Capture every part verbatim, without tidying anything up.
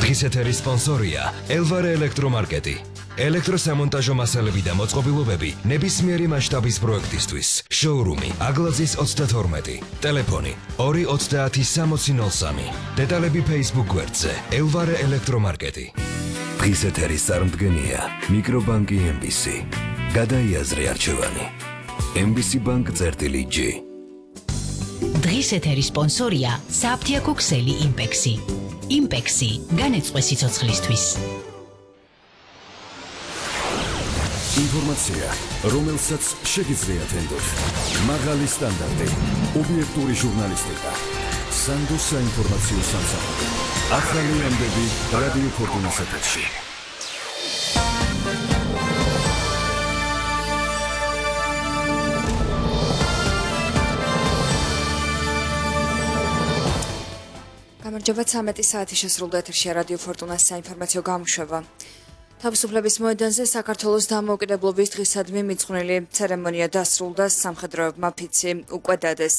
დღის ეთერის სპონსორია ელვარე ელექტრომარკეტი. ელექტროსამონტაჟო მასალები და მოწყობილობები ნებისმიერი მასშტაბის პროექტისთვის. შოურუმი აგლაძის ოცდათორმეტი. ტელეფონი ორი ოცდაათი სამოცი ნოლ სამი. დეტალები Facebook გვერდზე ელვარე ელექტრომარკეტი. დღის ეთერის წარმდგენია მიკრობანკი ემ ბი სი. გადაიაზრე არჩევანი. ემ ბი სი ბანკ წერტილი ჯი. დღის ეთერის სპონსორია საფთიაქო ქსელი იმპექსი. იმპექსი განეწყვე სიცოცხლისთვის. ინფორმაცია, რომელსაც შეგიძლიათ ენდოთ. მაღალი სტანდარტი, ობიექტური ჟურნალისტიკა. სანდო საინფორმაციო სამსახური. ახალი ამბები რადიო ფორტუნას ეთერში. გამარჯობა, ცამეტი საათი შესრულდა ეთერში რადიო ფორტუნას საინფორმაციო გამოშვება. თავისუფლების მოედანზე საქართველოს დამოუკიდებლობის დღისადმი მიძღვნილი ცერემონია დასრულდა, სამხედროებმა ფიცი უკვე დადეს.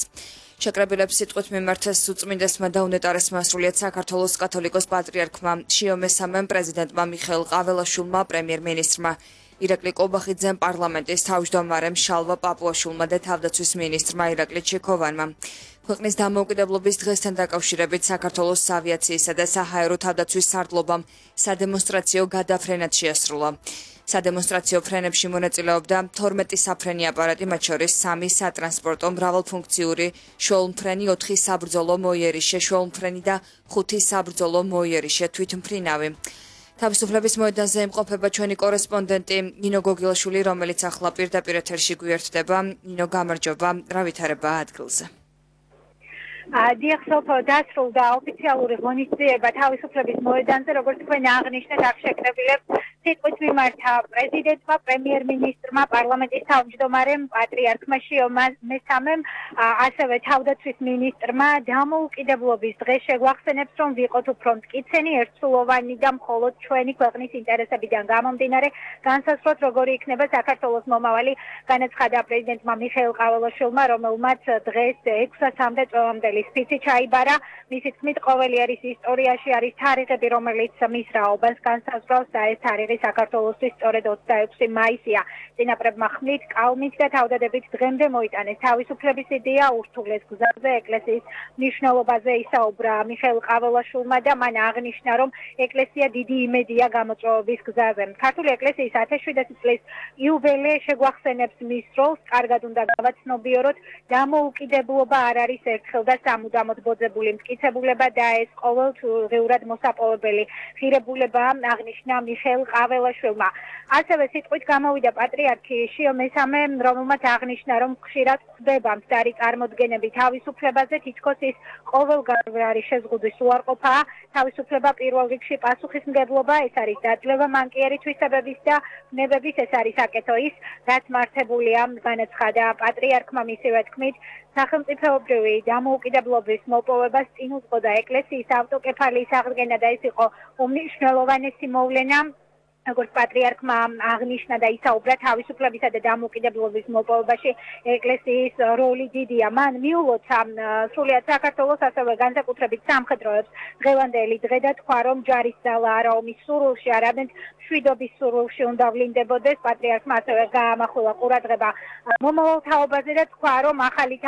შეკრებილებს სიტყვით მიმართეს უწმინდესმა და უნეტარესმა სრულიად საქართველოს კათოლიკოს პატრიარქმა შიო მესამემ, პრეზიდენტმა მიხეილ ყაველაშვილმა, პრემიერ-მინისტრმა ირაკლი კობახიძემ, პარლამენტის თავმჯდომარემ შალვა პაპუაშვილმა და თავდაცვის მინისტრმა ირაკლი ჩიქოვანმა. ქვეყნის დამოუკიდებლობის დღესთან დაკავშირებით საქართველოს ავიაციისა და საჰაერო თავდაცვის სარდლობამ სადემონსტრაციო გადაფრენად შეასრულა. სადემონსტრაციო ფრენებში მონაწილეობდა თორმეტი საფრენი აპარატი, მათ შორის სამი სატრანსპორტო მრავალფუნქციური შუალმფრენი, ოთხი საბრძოლო მოიერიშე შუალმფრენი და ხუთი საბრძოლო მოიერიშე თვითმფრინავი. თავისუფლების მოედანზე იმყოფება ჩვენი კორესპონდენტი ნინო გოგილაშვილი, რომელიც ახლა პირდაპირ ეთერში გვერდება. ნინო, გამარჯობა, რა ვითარება ადგილზე? დიახ, სოფო, დასრულდა ოფიციალური ღონისძიება თავისუფლების მოედანზე, როგორც თქვენ აღნიშნეთ, აქ შეკრებილებს სიტყვით მიმართა პრეზიდენტმა, პრემიერ-მინისტრმა, პარლამენტის თავმჯდომარემ, პატრიარქმა შიო მესამემ, ასევე თავდაცვის მინისტრმა. დამოუკიდებლობის დღეს შეგვახსენებს, რომ ვიყოთ უფრო მტკიცენი, ერთსულოვანი და მხოლოდ ჩვენი ქვეყნის ინტერესებიდან გამომდინარე განსაზღვროთ, როგორი იქნება საქართველოს მომავალი, განაცხადა პრეზიდენტმა მიხეილ ყაველაშვილმა, რომელმაც დღეს ექვსასამდე წლევანდელი სპიცი ჩაიბარა. მისი თქმით, ყოველი ერის ისტორიაში არის თარიღები, რომელიც მის რაობას განსაზღვრავს და ეს თარიღი საქართველოსთვის სწორედ ოცდაექვსი მაისია. წინაპრებმა ხმლით, კალმით და თავდადებით დღემდე მოიტანეს თავისუფლების იდეა, ურთულეს გზაზე ეკლესიის მნიშვნელობაზე ისაუბრა მიხეილ ყაველაშვილმა და მან აღნიშნა, რომ ეკლესია დიდი იმედია გამოწვევების გზაზე. ქართული ეკლესიის ათექვსმეტი წლის იუბილე შეგვახსენებს მის როლს, კარგად უნდა გავაცნობიოროთ, დამოუკიდებლობა არ არის ერთხელ და სამუდამოდ ბოძებული მტკიცებულება და ეს ყოველდღიურად მოსაპოვებელი ღირებულება, აღნიშნა მიხეილ ყაველაშვილმა. ასევე სიტყვით გამოვიდა პატრიარქი შიო მესამე, რომელმაც აღნიშნა, რომ ხშირად ხდება მცდარი წარმოდგენები თავისუფლებაზე, თითქოს ის ყოველგვარი არის შეზღუდვის უარყოფაა. თავისუფლება პირველ რიგში პასუხისმგებლობა, ეს არის დაძლევა მანკიერი თვისებების და ბუნებების, ეს არის აკეთო ის, რაც მართებულია, განაცხადა პატრიარქმა. მისივე თქმით, სახელმწიფოებრივი დამოუკიდებლობის მოპოვებას წინ უძღოდა ეკლესიის ავტოკეფალიის აღდგენა და ეს იყო უმნიშვნელოვანესი მოვლენა. როგორც პატრიარქმა აღნიშნა და ისაუბრა, თავისუფლებისა და დამოუკიდებლობის მოპოვებაში ეკლესიის როლი დიდია. მან მიულოცა სრულიად საქართველოს, ასევე განსაკუთრებით სამხედროებს დღევანდელი დღე და თქვა, რომ ჯარისძალა არა ომის სურვილში, არამედ მშვიდობის სურვილში უნდა ვლინდებოდეს. პატრიარქმა ასევე გაამახვილა ყურადღება მომავალ თაობაზე და თქვა, რომ ახალი